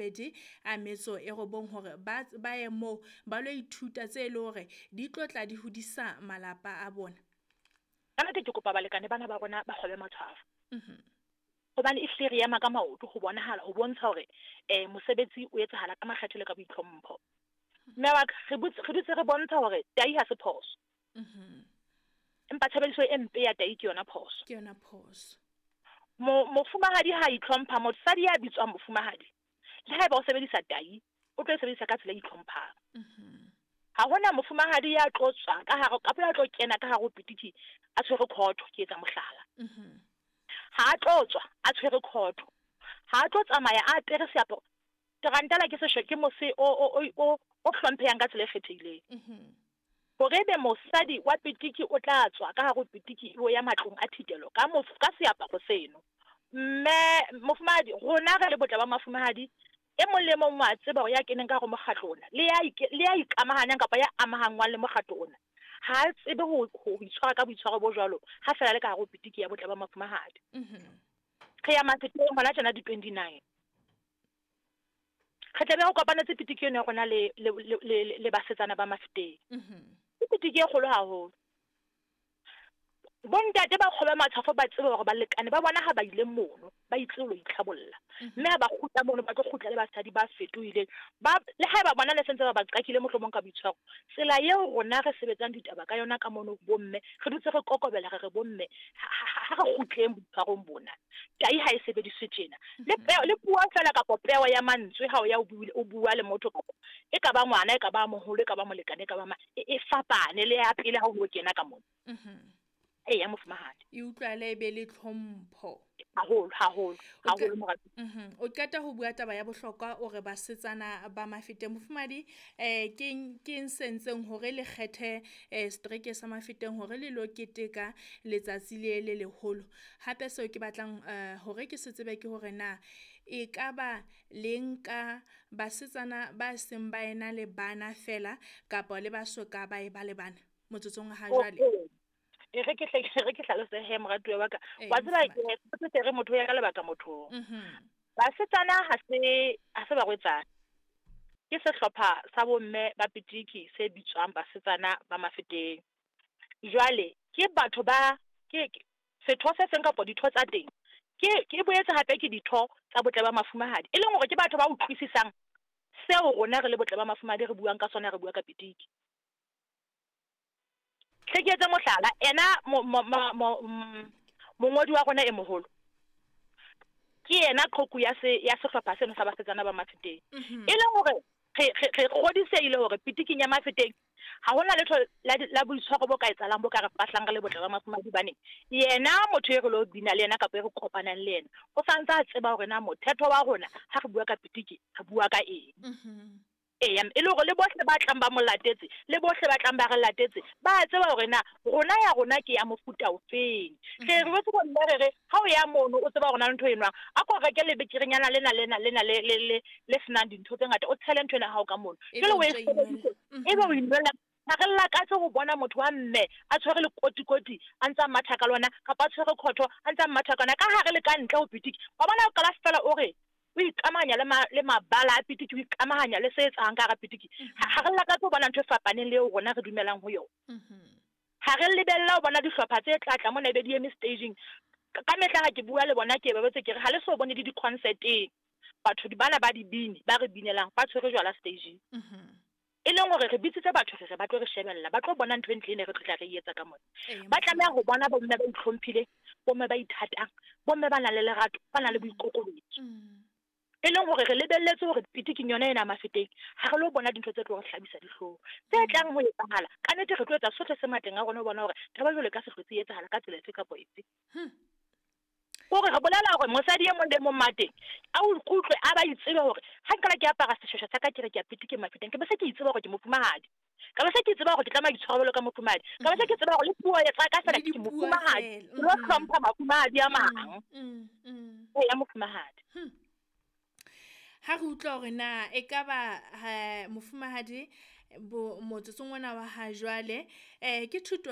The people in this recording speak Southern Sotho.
29 hore ba ye moo ba lo ithuta tse e le hore di tlo tla di hodisa malapa a bona? Ka nnete ke kopa balekane bana ba rona ba kgobe matshwafo. Hobane ehlile re ema ka maoto ho bonahala ho bontsha hore mosebetsi o etsahala ka makgethe le ka boitlhompho. Mme wa ka, re dutse re bontsha hore tai ha se phoso. Empa tshebediso e mpe ya tai ke yona phoso. Ke yona phoso. Mofumahadi ha itlhompha, mosadi ya bitswang mofumahadi, le haeba o sebedisa tai, o tlo e sebedisa ka tsela e itlhomphang. Ha hona mofumahadi ya tlo tswa ka hare, kapa ya tlo kena ka hare ho pitiki a tshwere khotho, ke etsa mohlala. Ha a tlo tswa a tshwere khotho, ha a tlo tsamaya a apere seaparo. Tarantala ke seshwe, ke mose o hlomphehang ka tsela e kgethehileng. Hore ebe mosadi wa pitiki o tla tswa ka hare ho pitiki o ya matlong a thitelo ka ka seaparo seno. Mme mofumahadi, rona re le botle ba mafumahadi, e mong le mong wa tseba hore ya keneng ka hare ho mokgatlo ona, le ya ikamahanyang kapa ya amahanngwang le mokgatlo ona, ha a tsebe ho itshwara ka boitshwaro bo jwalo ha fela le ka hare ho pitiki ya botle ba mafumahadi. Re ya Mafeteng hona tjena di 29. Re tlabe re kopanetse pitiki eno ya rona le basetsana ba Mafeteng. Ke pitiki e kgolo haholo. Bontate ba kgobe matshwafo ba tsebe hore balekane ba bona ha ba ile mono, ba itse ho itlhabolla. Mme ha ba kgutla mono, ba tlo kgutla le basadi ba fetohileng. Ba le haeba bona le sentse ba ba qakile mohlomong ka boitshwaro. Tsela eo rona re sebetsang ditaba ka yona ka mono bomme, re dutse re kokobela re re bomme, ha re kgutleng boitshwarong bona. Tai ha e sebediswe tjena. Le peo, le puo fela kapa peo ya mantswe ha o ya o bua le motho kapa e ka ba ngwana, e ka ba moholo, e ka ba molekane, e ka ba ma, e fapane le ya pele ha o kena ka mono. Eya mofumahadi. E utlwale e be le tlhompho. Haholo, haholo, haholo morati. O qeta ho bua taba ya bohlokwa o re basetsana ba Mafeteng. Mofumahadi, ke sentseng hore le kgethe streke sa Mafeteng hore le lo keteka letsatsi le le leholo. Hape seo ke batlang hore ke se tsebe ke hore na e ka ba le nka basetsana ba seng ba ena le bana fela kapa le ba soka ba e ba le bana motsotsong ha jwale? E re ke hlalose he moratuwa wa ka. Wa tseba ke re motho ya ka lebaka mothong. Basetsana ha se barwetsana. Ke sehlopha sa bomme ba pitiki se bitswang basetsana ba Mafeteng. Jwale ke batho ba ke setho se seng kapa ditho tsa teng. Ke boetse hape ke ditho tsa botle ba mafumahadi. E leng hore ke batho ba utlwisisang seo rona re le botle ba mafumahadi re buang ka sona, re bua ka pitiki. Hle ke etse mohlala, ena mongodi wa rona e moholo ke yena qhoku ya sehlopha seno sa basetsana ba Mafeteng. E leng hore re kgodisehile hore pitiking ya Mafeteng ha hona letho la boitshwaro bo ka etsahalang bo ka re fahlang re le botle ba mafumahadi baneng. Yena motho e re lo bina le yena kapa e re kopanang le yena, o santse a tseba hore na mothetho wa rona ha re bua ka pitiki re bua ka eng. Eya, e le hore le bohle ba tlang ba mo latetse, le bohle ba tlang ba re latetse, ba tseba hore na rona ya rona ke ya mofuta ofeng. Re re botse bomme re re ha o ya mono o tseba hore na ntho e nwang, a ko reke lebekerenyana lena lena lena le le le senang dintho tse ngata, o tshele ntho ena ha o ka mono. Jwale o e sebedise, ebe o inwella. Ha re lakatse ho bona motho wa mme a tshwere lekotikoti a ntsa matha ka lona, kapa a tshwere khotho a ntsa matha ka lona, ka hare le ka ntle ho pitiki. Wa bona o qala fela o re o ikamahanya le mabala a pitiki, o ikamahanya le se etsahang ka hara pitiki. Ha re lakatse ho bona ntho e fapaneng le eo rona re dumelang ho yona. Ha re lebella ho bona dihlopha tse tla tla mona ebe di eme staging. Ka mehla ha ke bua le bona ke ba botse ke re ha le so bone di di-concerteng, batho bana ba dibini ba re binelang ba tshwere jwala staging. E leng hore re bitsitse batho re ba tlo re shebella, ba tlo bona ntho e ntle ene re tlo tla re etsa ka mona. Ba tlameha ho bona bomme ba itlhomphileng, bomme ba ithatang, bomme ba nang le lerato, ba nang le boikokobetso. E leng hore re lebelletse hore pitiking yona ena Mafeteng ha re lo bona dintho tse tlo re hlabisa dihlong. Tse tlang ho etsahala, ka nnete re tlo etsa sohle se matleng a rona ho bona hore taba jwalo e ka se hlotse e etsahala ka tsela efe kapa efe. Hore re bolela hore mosadi e mong le mong mateng a utlwe a ba itsebe hore ha nkala ke apara seshweshwe sa ka ke re ke ya pitiking Mafeteng, ke be se ke itseba hore ke mofumahadi. Ka be se ke tseba hore ke tlameha itshwara jwalo ka mofumahadi. Ka be se ke tseba hore le puo ya tsa ka fela ke mofumahadi. Ke lo hlompha mafumahadi a mang. Ya mofumahadi. Ha re utlwa hore na e ka ba mofumahadi motsotsong ona wa ha jwale, ke thuto